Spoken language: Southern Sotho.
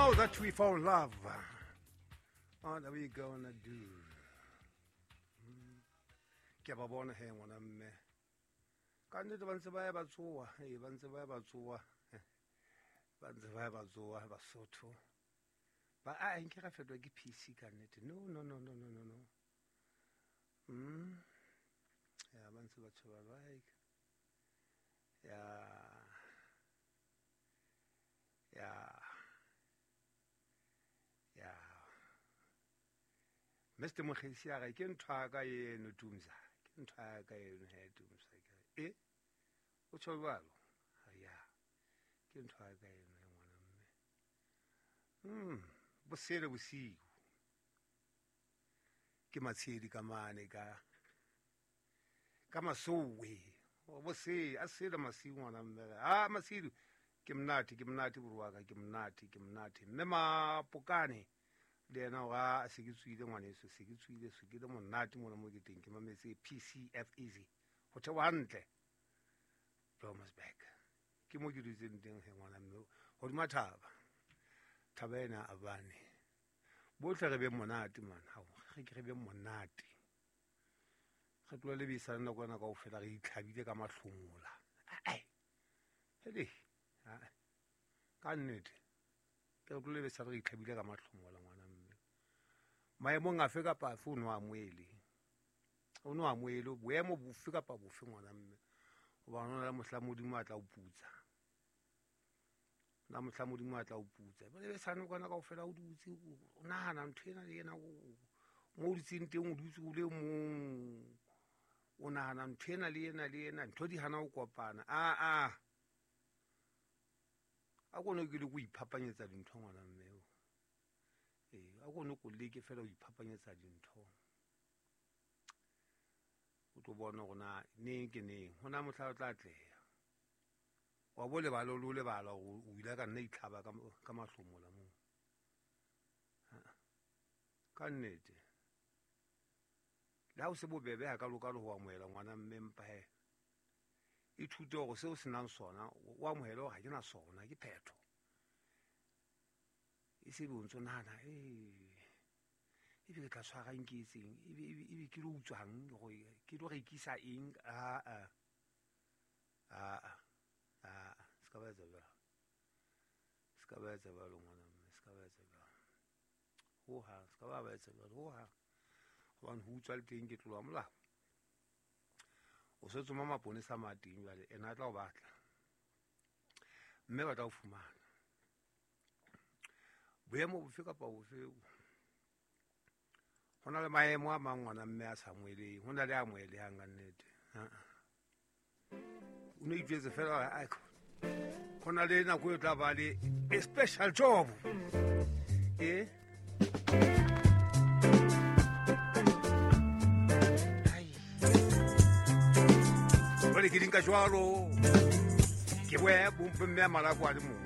Now that we found love, what are we gonna do? Ke ba bona he ngwana mme. Ka nnete ba ntse ba ya ba tsoa, ee ba ntse ba ya ba tsoa. Ba ntse ba ya ba tsoa Basotho. Ba a nke ra fetwa ke PC ka nnete. No no no no no no no. Ya ba ntse ba tshoba like. Ya ya ya Mr. Mokgesi a re ke ntho ya ka eno Tumza, ke ntho ya ka eno he Tumza. E o tjho jwalo? Ya ke ntho ya ka eno he ngwana mme. Bosele bosiu ke matshedi ka mane ka masowe bose a sele masiu ngwana mme. Ah masiu ke monate boroaka ke monate mme Mapokane le yena wa se ke tswile ngwaneso, se ke tswile se ke le monate mona mo ke teng ke mametse PCF Easy ho thewa hantle Blommensburg ke mo ke dutseng teng he ngwana mme hodima thaba ena a bane bohle re be monate man, ha re ke re be monate re tlola le bisana nako ena kaofela re itlhabile ka mahlomola. Ai hele ka nnete ke re tlola le bisana re itlhabile ka mahlomola ngwana mme. Maemong afe kapa afe o no amohele, o no amohele boemo bofe kapa bofe ngwana mme, hobane hona le mohla Modimo a tla o putsa, na mohla Modimo a tla o putsa. Jwale besane kwana kaofela o dutse o nahana ntho ena le ena, mo o dutseng teng o dutse o le mong, o nahana ntho ena le ena le ena, ntho di hana ho kopana. A kone ke le ko iphapanyetsa dintho ngwana mme o. A kone ko leke fela ho iphapanyetsa dintho, o tlo bona hore na neng ke neng hona mohla o tla atleha. Wa bo lebala o lebala hore o ile ka nna itlhaba ka mahlomola moo. Ka nnete le ha o se bobebe hakalo-kalo ho amohela ngwana mme, empa he ithute hore seo o senang sona o amohele hore ha ke na sona, ke phetho. E se be o ntso nahana ebe ke tla tshwarang ke etseng, ebe ke lo utswang, ke lo rekisa eng. Aa se ka ba etsa jwalo, se ka ba etsa jwalo ngwana mme, se ka ba etsa jwalo hohang, se ka ba etsa jwalo hohang, hobane ho utswa le teng ke tlolo ya molao. O se tsoma maponesa ma teng jwale, ena a tla o batla mme ba tla o fumana. Boemo bofe kapa bofe, ho na le maemo a mang ngwana mme a sa amoheleng, ho na le a amohelehang ka nnete. O no itjwetse fela ho na le nako e tla ba le a special job. Jwale ke di nka jwalo, ke boya mme a malako a le mong.